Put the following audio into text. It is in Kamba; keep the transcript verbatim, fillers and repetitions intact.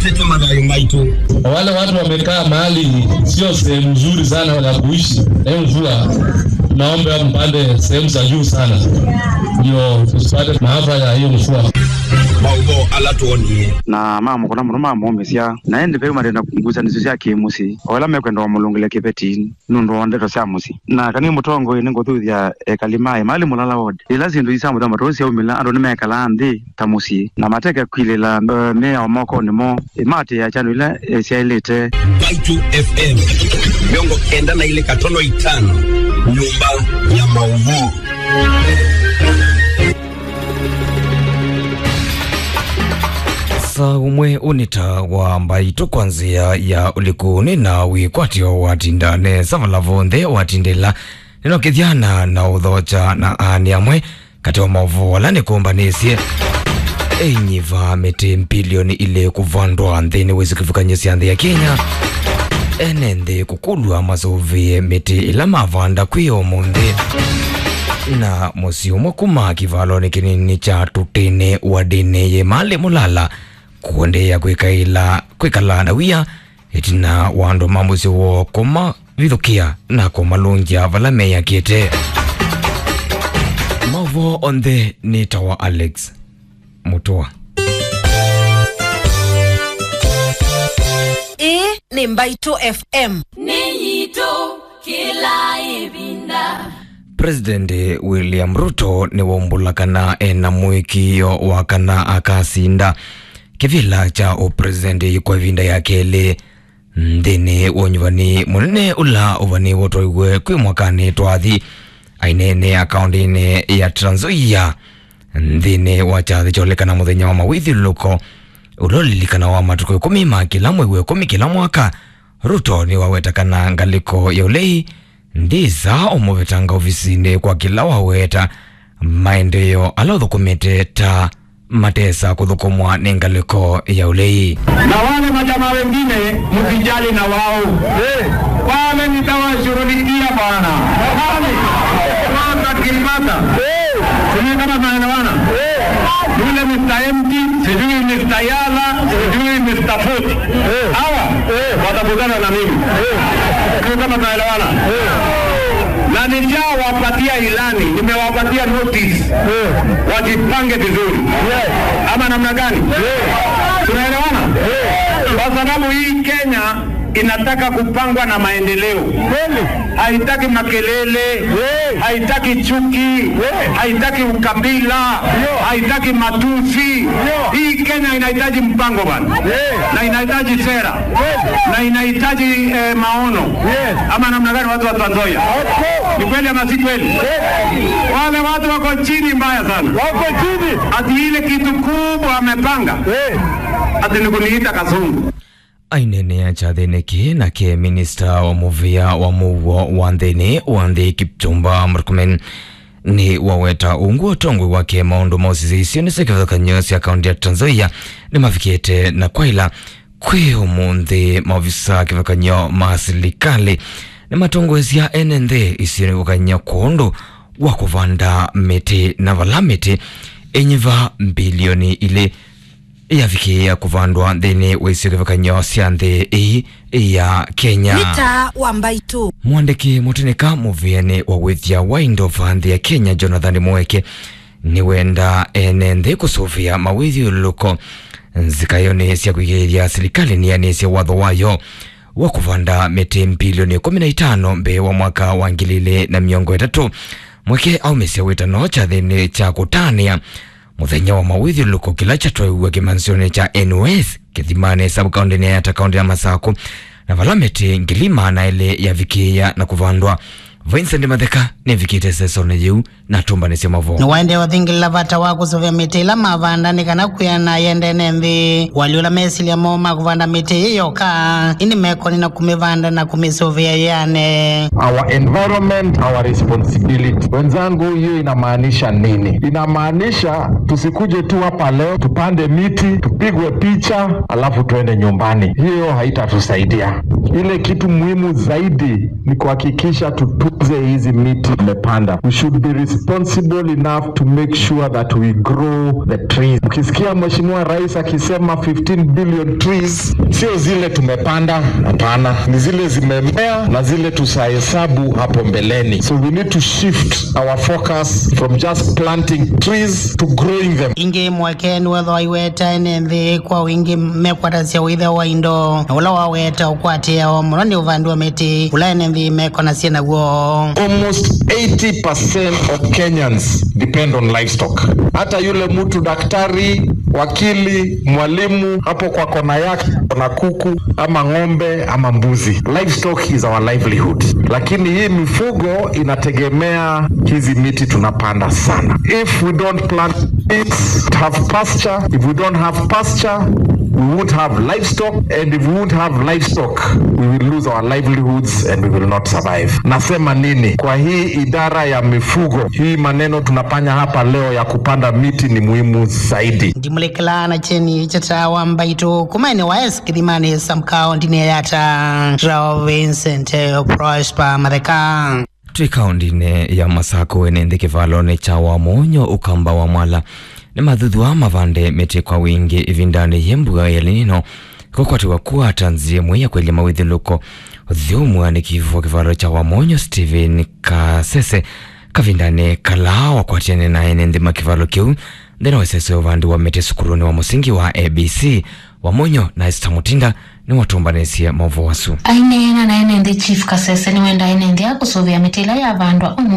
Nĩtũ mathayũ maitũ. Wale watu wamekaa mahali sio sehemu nzuri sana ya kuishi, eh, mvua, tunaomba mpande sehemu za juu sana, ndio tusipate maafa ya hiyo mvua. Maũvoo ala twonie. Na mamũkũna mũno mamũũmĩsya, na ĩndĩ ve marenda ngusanĩsyo sya kĩ-mũsyĩ, o ala mekwenda wamũlũngĩle kĩveti nũndũ wa ndeto sya mũsyĩ. Na kana nĩ mũtongoi, nĩngũthuthya ekali ma Emali Mulala Ward. Ĩla syĩndũ ii sya mũthemba ta ũũ syaumĩla, andũ nĩmekalaa nthĩ ta mũsyĩ, na mateke kwilĩla, eh, mĩao mokonĩ moo, ĩmaatĩĩa kyalo ila, eh, syaĩlĩte. Mbaitũ F M, mĩongo kenda na ilĩ katono itano, nyũmba ya maũvoo. Saa ũmwe ũnĩ ta wa Mbaitũ kwa nzĩa ya ũliku nĩ na wĩkwatyo watinda nesa vala vonthe watindĩla. Nĩnokĩthyana na ũthokya na aani amwe katĩ wa maũvoo ala nĩkũmbanĩsye. Ĩnyiva mĩtĩ mbilioni ilĩ kũvandwa nthĩnĩ wa isio kĩvathũkany'o sya nthĩ ya Kenya. Ene nthĩ kũkũlw'a masũvĩe mĩtĩ ĩla mavanda kwĩ ũmũnthĩ. Na mũsyĩ ũmwe kuma kĩvalonĩ kĩnini kya Tutĩnĩ wadĩnĩ yĩ Emali Mulala kũendeea kwĩkaĩla, kwĩkala na wia ĩtina wa andũ ma mũsyĩ woo kũmavithũkĩa na kũmalũngya vala meyakĩte. Maũvoo onthe nĩ ta wa Alex Mũtũa. Ĩĩ nĩ Mbaitũ F M. Nĩ yitũ kĩla ĩvinda. President William Ruto nĩwaumbũla kana ena mũĩkĩĩo wa kana akasinda kĩvĩla kya ũpresident kwa ĩvinda ya kelĩ nthĩnĩ wa ũnyuvani mũnene ũla ũvanĩĩwe twaiwe kwĩ mwakanĩ twathi. Aineenea kaũntĩnĩ ya Trans Nzoia nthĩnĩ wa kyathĩ kya ũlekana mũthenya wa mawĩthyũlũlũko ũla ũlilikanawa matukũ ĩkũmi ma kĩla mwei wa ĩkũmi kĩla mwaka, Ruto nĩwaweta kana ngalĩko ya ũlei ndĩsaa ũmũvetanga ovisinĩ kwa kĩla waweta maendeeo ala ũthũkũmĩte ta matesa kũthũkũmwa nĩ ngalĩko ya ũlei. Na wale majamaa wengine, msijali na wao. Wale nitawashughulikia bwana. Watakipata. Sijui kama tunaelewana. Yule Mister Empty, sijui Mister Yala, sijui Mister Foot. Hawa watakutana na mimi. Sijui kama tunaelewana. Na nishawapatia ilani, nimewapatia notice. Wajipange vizuri. Ama namna gani? Tunaelewana? Kwa sababu hii Kenya inataka kupangwa na maendeleo. Kweli. Haitaki makelele, haitaki chuki, haitaki ukabila, haitaki matusi. Hii Kenya inahitaji mpango bwana. Na inahitaji sera. Na inahitaji, eh, maono. Ama namna gani, watu wa Trans Nzoia? Ni kweli ama si kweli? Wale watu wako chini mbaya sana. Wako chini. Ati ile kitu kubwa amepanga. Ati ni kuniita Kasungu. Aineenea kyathĩnĩ kĩĩ nake minista wa mũvĩa wa mũuo wa nthĩnĩ wa nthĩ Kipchumba Murkomen nĩwaweta ungu ũtongoi wake maũndũ ma ũsisya isionĩ sya kĩvathũkany'o sya kaũntĩ ya Trans Nzoia nĩmavikĩte na kwaĩla kwĩ ũmũnthĩ. Maovisa kĩvathũkany'o ma silikalĩ nĩmatongoesya ene nthĩ isionĩ kũkany'a kwondũ wa kũvanda mĩtĩ, na vala mĩtĩ ĩnyiva mbilioni ilĩ yavikĩĩa kũvandwa nthĩnĩ wa isio kĩvathũkany'o sya nthĩ ĩĩ ya Kenya. Nĩ taa wa Mbaitũ. Mwandĩki mũtĩnĩka mũvĩanĩ wa wĩthya wa indo va nthĩ ya Kenya, Jonathan Mũeke, nĩwenda ene nthĩ kũsũvĩa mawĩthyũlũlũko nzikaĩonĩ sya kũigĩĩthya silikalĩ nĩyanĩsye watho wayo wa kũvanda mĩtĩ mbilioni ĩkũmi na itano mbee wa mwaka wa ngili ilĩ na mĩongo ĩtatũ. Mũeke aumĩsya wĩtano kyathĩnĩ kya kũtanĩa mũthenya wa mawĩthyũlũlũko kĩla kyatwaiwe kĩmanĩsyonĩ kya N O S Kĩthimanĩ, sub-kaũntĩnĩ ya Yatta, kaũntĩ ya Masakũ, na vala mĩtĩ ngili maana elĩ yavikĩĩa na kũvandwa. Vincent Matheka nĩvikĩte sesonĩ yĩu na atũmbanĩsye mavoo. Nĩwaendee ũthingĩlĩla vata wa kũsũvĩa mĩtĩ ĩla mavanda nĩ kana kwĩana yendene nthĩ. Wali ũla mesilya moo ma kũvanda mĩtĩ ĩĩ yoka, ĩndĩ mekoni na kũmĩvanda na kũmĩsũvĩa yĩane. Our environment, our responsibility. Wenzangu, hiyo inamaanisha nini? Inamaanisha tusikuje tu hapa leo, tupande miti, tupigwe picha, alafu tuende nyumbani. Hiyo haitatusaidia. Ile kitu muhimu zaidi ni kuhakikisha tutu Hizi miti tumepanda, we should be responsible enough to make sure that we grow the trees. Ukisikia Mheshimiwa Rais akisema fifteen billion trees, sio zile tumepanda, hapana, ni zile zimemea na zile tutahesabu hapo mbeleni. So we need to shift our focus from just planting trees to growing them. Ĩngĩ mweke nĩwethwa aiweta ene nthĩ kwa wingĩ mekwatasya ũĩtheo wa indo, na ũla waweta ũkwatĩao mũno nĩ ũvandi wa mĩtĩ, ũla ene nthĩ mekonasya naw'o. Almost eighty percent of Kenyans depend on livestock. Hata yule mtu daktari, wakili, mwalimu, hapo kwa kona yake kuna kuku ama ng'ombe ama mbuzi. Livestock is our livelihood. Lakini hii mifugo inategemea hizi miti tunapanda sana. If we don't plant trees, have pasture, if we don't have pasture, we won't have livestock, and if we won't have livestock, we will lose our livelihoods and we will not survive. Nasema nini? Kwa hii idara ya mifugo, hii maneno tunafanya hapa leo ya kupanda miti ni muhimu zaidi. Ndimulekela na Cheni Chata wa Mbaitũ kuma ene wa S Kĩthimani Sam kaũntĩnĩ ya Yatta, Rao Vincent Prosper Matheka. Twĩ kaũntĩnĩ ya Masakũ, ene nthĩ kĩvalonĩ kya Wamonyo Ũkamba wa Mwala nĩmathuthwaa mavande mĩtĩ kwa wingĩ ĩvindanĩ yĩ mbua ya El Nino kũkwatĩwa kũata nzĩa ĩmwe ya kwelya mawĩthyũlũko. Ũthyũmũanĩki wa kĩvalo kya Wamonyo Stephen Kasese kavindanĩ kala wakwatĩane na ene nthĩ ma kĩvalo kĩu nthĩnĩ wa ĩsese ya ũvandi wa mĩtĩ sukulunĩ wa mũsingi wa A B C. Wamonyo na Esther Mutinda nĩwatũmbanĩsye maũvoo asu. Aineena na ene nthĩ, Chief Kasese nĩwenda ene nthĩ aa kũsũvĩa mĩtĩ ĩla yavandwa ũmũnthĩ.